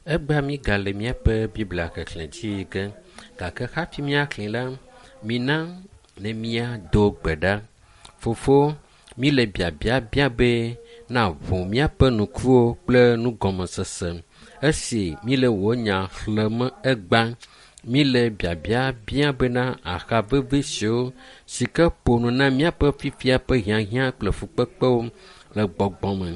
Egbea mígale míaƒe Biblia xexlẽ dzi yi ge gake hafi míaxlẽ la, mina ne míado gbe ɖa. Fofo, míle biabia bia be na ʋu míaƒe ŋkuwo kple nugɔmesese esi míle wò nya xlẽm egbea. Míle biabia bia bena aha vevi siwo si ke ƒo nu na míaƒe fifia ƒe hiahiã kple fukpekpewo le gbɔgbɔ me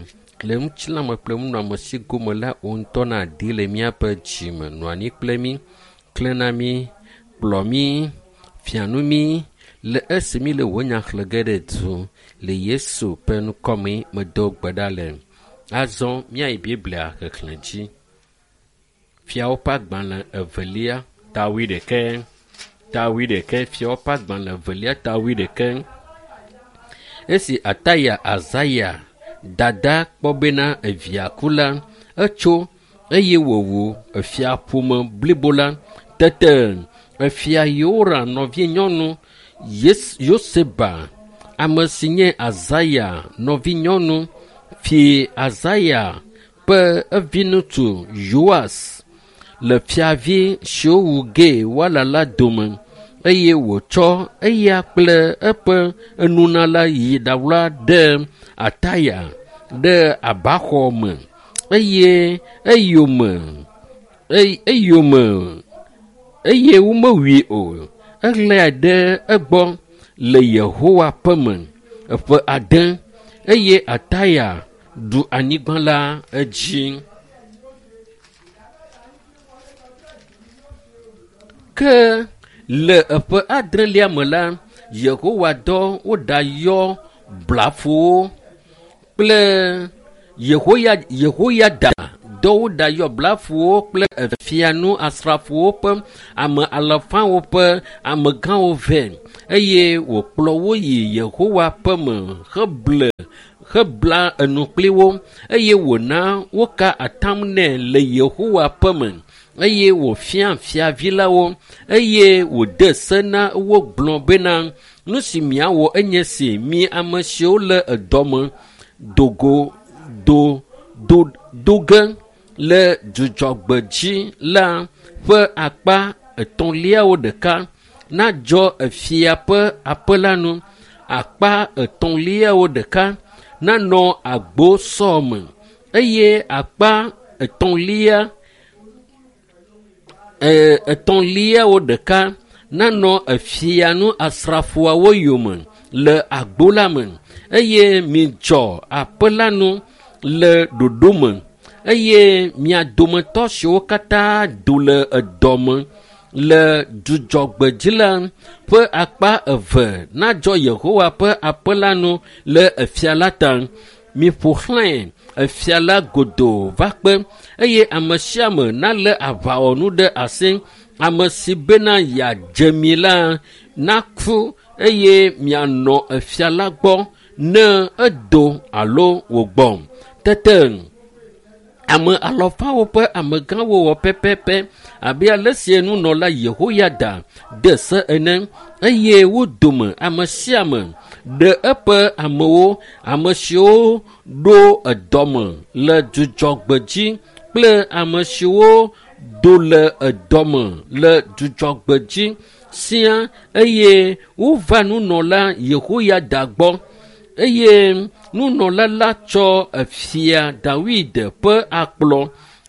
le ŋutilãme kple nunɔamesi gome la wò ŋutɔ nàdi le míaƒe dzime. Nɔ anyi kple mí, klẽ na mí, kplɔ mí, fia nu mí le esi míle wò nya xlẽ ge ɖe du le Yesu ƒe ŋkɔme medo gbe ɖa le. Azɔ míayi Biblia xexlẽ dzi. Fiawo ƒe agbalẽ evelia ta wuiɖekɛ ta wuiɖekɛ fiawo ƒe agbalẽ evelia ta wuiɖekɛ. Esi Ataya Azaya dada kpɔ bena evia ku la, etso eye wòwu efiaƒome blibo la. Tete efia Yehoram nɔvinyɔnu Yoseba, ame si nye Azaya nɔvinyɔnu, fi Azaya ƒe eviŋutsu Yoas le fiavi siwo wu ge woala la dome eye wòtsɔ eya kple eƒe enunala yi ɖawla ɖe Ataya ɖe abaxɔ me eye eyome eyome eye womewui o. Eɣlae ɖe egbɔ le Yehowa ƒe me eƒe ade eye Ataya ɖu anyigba la edzi. Ke le eƒe adrelia me la, Yehowa dɔ woɖayɔ blafowo kple Yehoyada dɔ woɖayɔ blafowo kple efianu asrafowo ƒe ame alafawo ƒe amegãwo vɛ eye wòkplɔ wo yi Yehowa ƒe me heble hebla enu kpli wo eye wòna woka atam nɛ le Yehowa ƒe me eye wòfia fiavi la wo eye wòde se na wo gblɔ bena nu si miawɔ enye si mi ame siwo le edɔme dogo do do do ge le dzudzɔgbe dzi la ƒe akpa etɔ̃liawo ɖeka nadzɔ efia ƒe aƒe la nu akpa etɔ̃liawo ɖeka nanɔ agbo sɔ me eye akpa etɔ̃lia etɔ̃liawo ɖeka nanɔ efia nu asrafoawo yome le agbo la me eye midzɔ aƒe la nu le ɖoɖo me eye mia dometɔ siwo katã do le edɔ me le dzudzɔgbe dzi la ƒe akpa eve nadzɔ Yehowa ƒe aƒe la nu le efia la ta. Miƒo xlãe efia la godoo va kpe eye ame sia ame nalé aʋawɔnu ɖe asi. Ame si bena yeadze mi la naku eye mianɔ efia la gbɔ ne edo alo wògbɔ. Tete ame alafawo ƒe amegãwo wɔ pɛpɛpɛ abe ale si nunɔla Yehoyada de se ene eye wo dome ame sia ame ɖe eƒe amewo, ame siwo ɖo edɔme le dzudzɔgbe dzi kple ame siwo do le edɔme le dzudzɔgbe dzi sia eye wova nunɔla Yehoyada gbɔ eye nunɔla la tsɔ efia Dawid ƒe akplɔ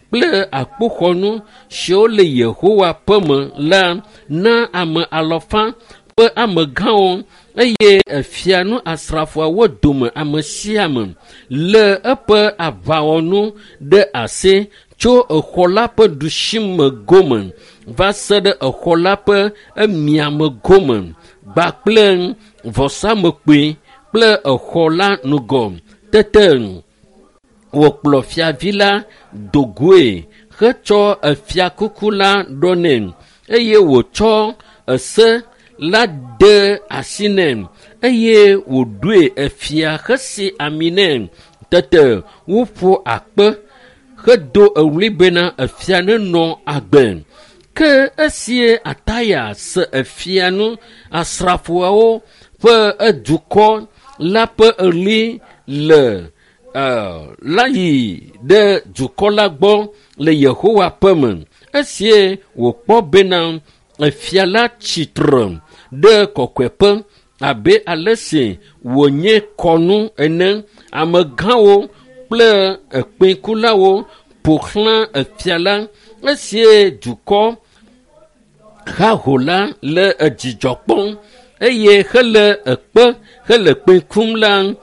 kple akpoxɔnu siwo le Yehowa ƒe me la na ame alafa ƒe amegãwo eye efia nu asrafoawo dome ame sia ame le eƒe aʋawɔnu ɖe asi tso exɔ la ƒe ɖusime gome va se ɖe exɔ la ƒe emiame gome kpakple vɔsamekpui kple exɔ la ŋgɔ. Tete wòkplɔ fiavi la do goe hetsɔ efiakuku la ɖɔ nɛ eye wòtsɔ ese la de asi nɛ eye wòɖoe efia hesi ami nɛ. Tete woƒo akpe hedo eɣli bena efia nenɔ agbe. Ke esi Ataya se efia nu asrafoawo ƒe edukɔ la ƒe eɣli le la yi ɖe dukɔ la gbɔ le Yehowa ƒe me. Esie wòkpɔ bena efia la tsitre ɖe kɔkɔeƒe abe ale si wònye kɔnu ene. Amegãwo kple ekpẽkulawo ƒo xlã efia la. Esie dukɔ haho la le edzidzɔ kpɔm eye hele ekpe hele kpẽ kum la,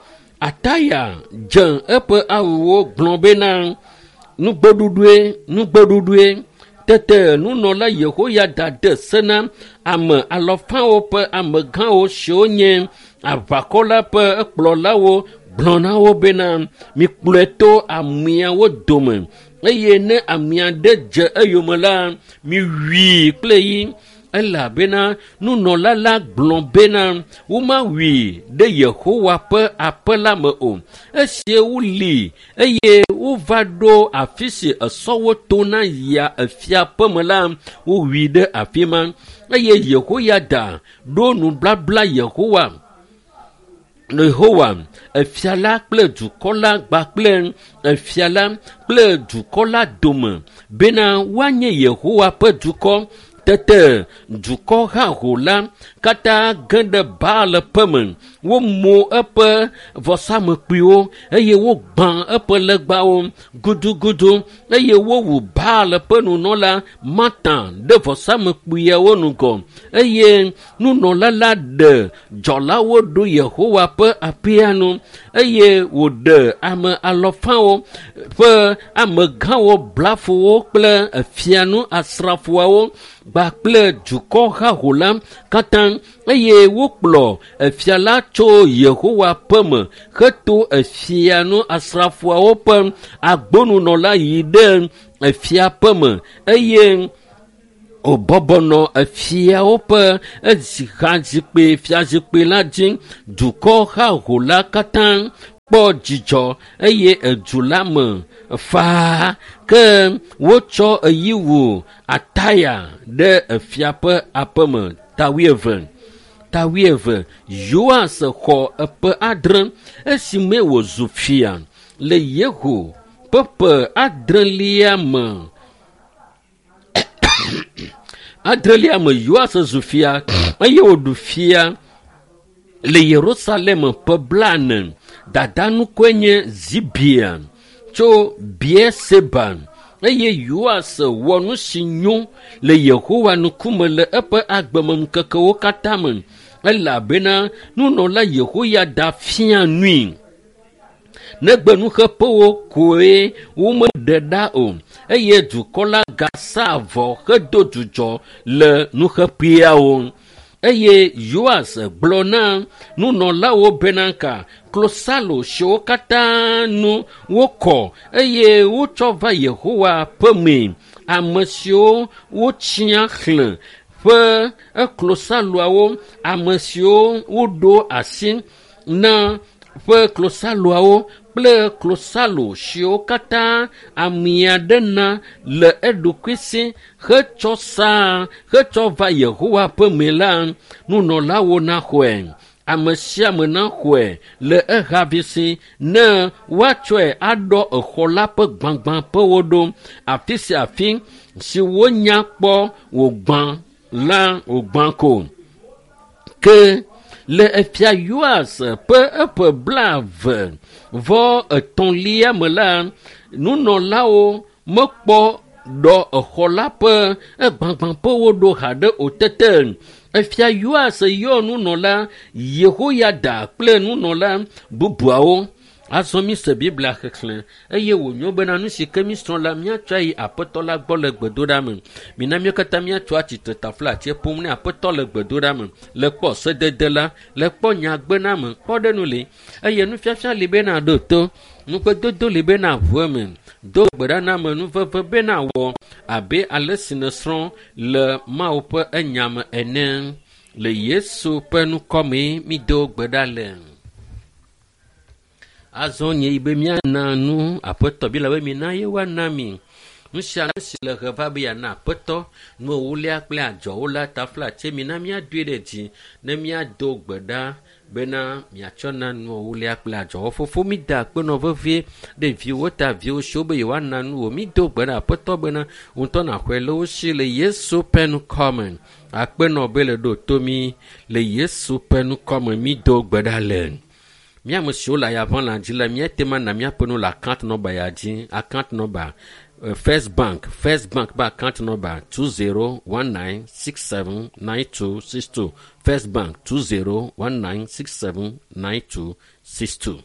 Ataya dze eƒe awuwo gblɔ bena, nugbeɖuɖue, nugbeɖuɖue. Tete nunɔla Yehoyada de se na ame alɔfawo ƒe amegãwo siwo nye aʋakɔ la ƒe ekplɔlawo gblɔ na wo bena, mikplɔe to ameawo dome eye ne amea ɖe dze eyome la, miwui kple yi. Elabena nunɔla la gblɔ bena womawui ɖe Yehowa ƒe aƒe la me o. Esie woli eye wova ɖo afi si esɔwo tona yia efia ƒe me la, wowui ɖe afi ma. Eye Yehoyada ɖo nubabla Yehowa, efia la kple dukɔ la kpakple efia la kple dukɔ la dome bena woanye Yehowa ƒe dukɔ. Tete dukɔ haho la katã ge ɖe Baal ƒe me. Womo eƒe vɔsamekpuiwo eye wogbã eƒe legbawo gudugudu eye wowu Baal ƒe nunɔla Matan ɖe vɔsamekpuiawo ŋgɔ eye nunɔla la ɖe dzɔlawo ɖo Yehowa ƒe aƒea nu eye wòɖe ame alɔfawo ƒe amegãwo blafowo kple efianu asrafoawo kpakple dukɔ haho la katã eye wokplɔ efia la tso Yehowa ƒe me heto efianu asrafoawo ƒe agbonunɔla yi ɖe efia ƒe me eye wòbɔbɔ nɔ efiawo ƒe ezihazikpui fiazikpui la dzi. Dukɔ haho la katã kpɔ dzidzɔ eye edu la me faa ke wotsɔ eyi wu Ataya ɖe efia ƒe aƒe me. Tawuieve. Yoas xɔ eƒe 7 esime wòzu fia le Yehu ƒe ƒe 8 me. 8 me Yoas zu fia eye wòɖu fia le Yerusalem ƒe 40. Dada ŋkɔe nye Zibia tso Beerseba eye Yoas wɔ nu si nyo le Yehowa ŋkume le eƒe agbemeŋkekewo katã me elabena nunɔla Yehoyada fia nui. Negbe nuxeƒewo koe womeɖe ɖa o eye dukɔ la gasa avɔ hedo dzudzɔ le nuxeƒeawo. Eye Yoas gblɔ na nunɔlawo bena ka klosalo siwo katã nu wokɔ eye wotsɔ va Yehowa ƒe mee, ame siwo wotsia xlẽ ƒe eklosaloawo, ame siwo woɖo asi na ƒe klosaloawo kple klosalo siwo katã amea ɖe na le eɖokui si hetsɔ saa hetsɔ va Yehowa ƒe me la, nunɔlawo naxɔe. Ame sia ame naxɔe le ehavi si ne woatsɔe aɖɔ exɔ la ƒe gbagbãƒewo ɖo. Afi sia afi si wonya kpɔ wògbã la wògbã ko. Ke le efia Yoas ƒe eƒe 23 me la, nunɔlawo mekpɔ ɖɔ exɔ la ƒe egbagbãƒewo ɖo haɖe o. Tete efia Yoas yɔ nunɔla Yehoyada kple nunɔla bubuawo. Azɔ mi se Biblia xexlẽ eye wònyo bena nu si ke mísrɔ̃ la míatsɔ ayi Aƒetɔ la gbɔ le gbedoɖa me. Mina míawo katã míatso atsitre taflatse ƒom ne Aƒetɔ le gbedoɖa me, le kpɔ sedede la, le kpɔ nyagbename, kpɔ ɖe nu li eye nufiafia li bena ɖo to, nuƒedodo li bena ʋu eme, do gbe ɖa na ame nuveve bena wɔ abe ale si nèsrɔ̃ le Mawu ƒe enya me ene. Le Yesu ƒe ŋkɔmee mído gbe ɖa le. Azɔ nye yi be míana nu Aƒetɔ bi la be mina ye woana mi. Nu sia nu si le he va be yeana aƒetɔ nu ewolia kple adzɔwo la taflatse mina míadoe ɖe dzi ne míado gbe ɖa bena miatsɔ na nu ewolia kple adzɔwo. Fofo mi da akpe nɔ vevie ɖe viwo ta viwo siwo be yewoana nu wò. Mi do gbe ɖa aƒetɔ bena ŋutɔ naxɔe le wo si le Yesu ƒe ŋkɔme. Akpe nɔ be le ɖo to mi le Yesu ƒe ŋkɔme mi do gbe ɖa le. Mía ame siwo le ayaʋã dzi la, míate ŋu ana míaƒe nu le account number ya dzi. Account number First Bank, First Bank ƒe account number 2019679262. First Bank 2019679262.